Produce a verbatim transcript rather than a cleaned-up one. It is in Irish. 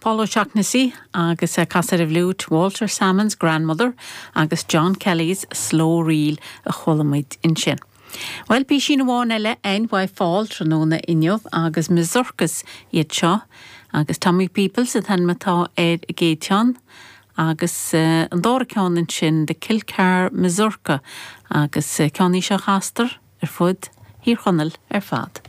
Paul O'Shaughnessy agus uh, casadh ar fhliúit Walter Salmon's Grandmother agus John Kelly's Slow Reel a chuala muid ansin. Well píosa amháin eile an bhai fáil tráthnóna inniu agus Mazurkas iad seo agus Tommy Peoples an t-ainm atá ar an gcéad cheann agus uh, an dara ceann ansin de Kilcar Mazurka agus uh, ceann í seo a chastar ar fud Thír Chonaill ar fad.